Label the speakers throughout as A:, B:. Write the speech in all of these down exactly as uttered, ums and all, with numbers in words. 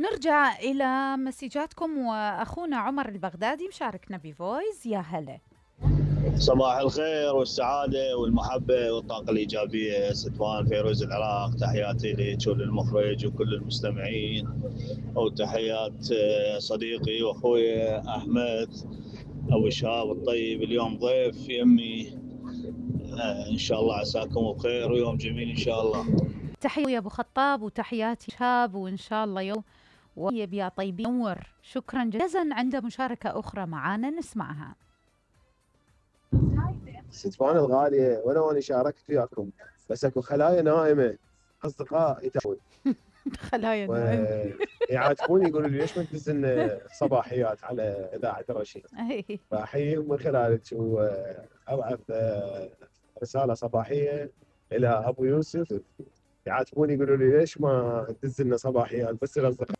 A: نرجع إلى مسجاتكم وأخونا عمر البغدادي مشاركنا بفويس. يا هلا.
B: صباح الخير والسعادة والمحبة والطاقة الإيجابية. ستوان فيروز العراق، تحياتي لك وللمخرج وكل المستمعين، وتحيات صديقي وأخوي أحمد أبو شهاب الطيب. اليوم ضيف يمي، إن شاء الله عساكم بخير ويوم جميل إن شاء الله.
A: تحية يا أبو خطاب وتحياتي شهاب، وإن شاء الله يوم ويب يا طيبين. نور، شكرا جزيلا. عنده مشاركة أخرى معانا نسمعها.
C: ستوان الغالية، ولو أنا شاركت وياكم بس اكو خلايا نائمة، أصدقاء يتابعون
A: خلايا نائمة
C: يعاتبوني يقولوا لي ليش ما تدز لنا صباحيات على إذاعة رشيد، فأحييهم من خلالك وأبعث رسالة صباحية إلى أبو يوسف. يعاتبوني يقولوا لي ليش ما تدز لنا صباحيات بس الأصدقاء.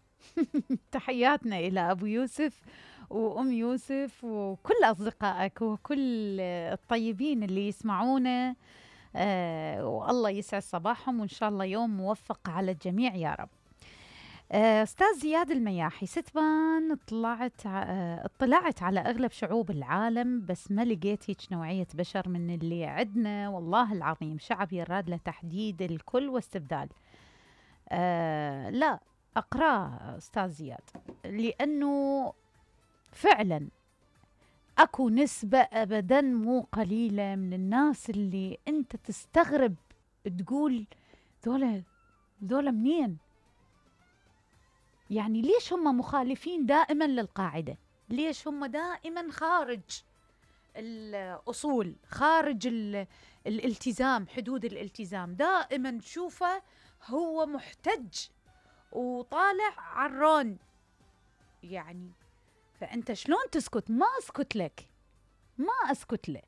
A: تحياتنا إلى أبو يوسف وأم يوسف وكل أصدقائك وكل الطيبين اللي يسمعونا، آه والله يسعد صباحهم، وإن شاء الله يوم موفق على الجميع يا رب. آه أستاذ زياد المياحي، ستبان اطلعت آه اطلعت على أغلب شعوب العالم بس ما لقيت هيك نوعية بشر من اللي عندنا، والله العظيم شعب يراد لتحديد الكل واستبدال. آه لا أقرأ أستاذ زياد، لأنه فعلا أكو نسبة أبدا مو قليلة من الناس اللي أنت تستغرب تقول ذولا ذولا منين؟ يعني ليش هم مخالفين دائما للقاعدة؟ ليش هم دائما خارج الأصول، خارج الالتزام، حدود الالتزام؟ دائما تشوفه هو محتج وطالع عرون يعني. فأنت شلون تسكت؟ ما أسكت لك، ما أسكت له،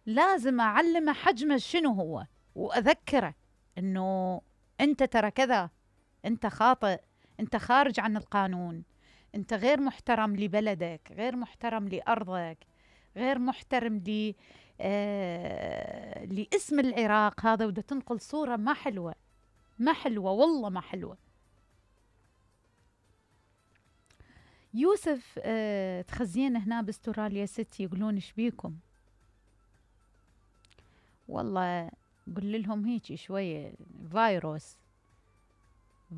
A: لازم أعلمه حجمه شنو هو وأذكره أنه أنت ترى كذا، أنت خاطئ، أنت خارج عن القانون، أنت غير محترم لبلدك، غير محترم لأرضك، غير محترم ل آه... لاسم العراق هذا، وده تنقل صورة ما حلوة، ما حلوة والله ما حلوة. يوسف آه، تخزين هنا باستراليا ست يقولون ايش بيكم؟ والله قل لهم هيك شوية، فيروس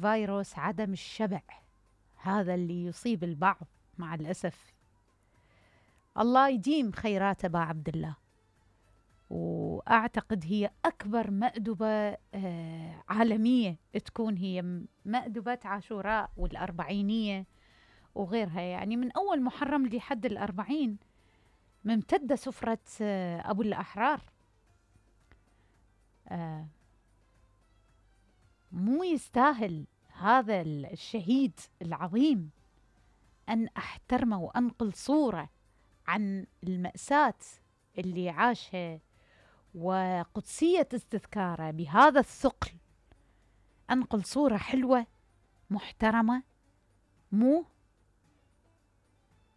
A: فيروس عدم الشبع هذا اللي يصيب البعض مع الأسف. الله يديم خيرات أبا عبد الله، وأعتقد هي أكبر مأدبة آه عالمية تكون هي مأدبة عاشوراء والأربعينية وغيرها، يعني من أول محرم لحد الأربعين ممتدة سفرة أبو الأحرار. آه مو يستاهل هذا الشهيد العظيم أن أحترمه وأنقل صورة عن المأساة اللي عاشها وقدسية استذكاره بهذا الثقل، أنقل صورة حلوة محترمة. مو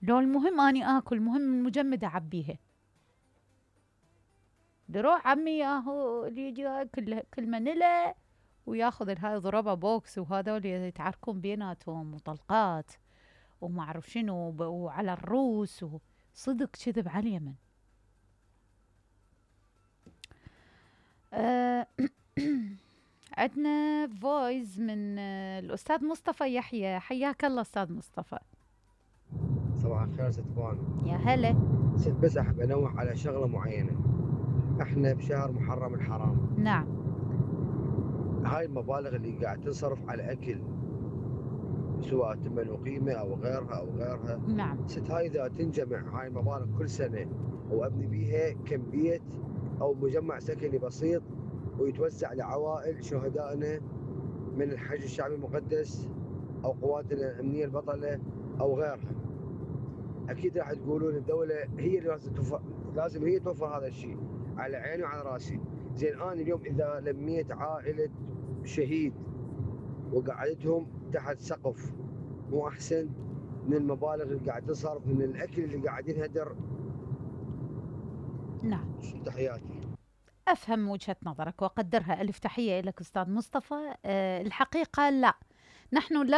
A: لو المهم أني آكل، مهم المجمدة عبيها، دروح عمي ياهو اللي يجي كل كل منلة وياخذ الهاي ضربة بوكس، وهذول يتعاركون بيناتهم وطلقات وما أعرف شنو وعلى الروس، وصدق كذب على اليمن. أه عندنا فويس من الأستاذ مصطفى يحيى. حياك الله أستاذ مصطفى.
D: صباح الخير ستوان.
A: يا هلا.
D: ست بس أحب أنوه على شغلة معينة، احنا بشهر محرم الحرام.
A: نعم.
D: هاي المبالغ اللي قاعد تنصرف على أكل سواء تمن وقيمة أو غيرها أو غيرها،
A: نعم.
D: ست هاي إذا تنجمع هاي المبالغ كل سنة وأبني بيها كم بيت أو مجمع سكني بسيط ويتوزع لعوائل شهدائنا من الحج الشعبي المقدس أو قواتنا الأمنية البطلة أو غيرها، أكيد راح تقولون الدولة هي اللي لازم توفر، لازم هي توفر هذا الشيء، على عيني وعلى راسي. زين أنا اليوم إذا لميت عائلة شهيد وقعدتهم تحت سقف، مو أحسن من المبالغ اللي قاعد تصرف من الأكل اللي قاعد ينهدر؟
A: نعم.
D: تحياتي.
A: أفهم وجهة نظرك وأقدرها، ألف تحية لك أستاذ مصطفى. أه الحقيقة لا، نحن لا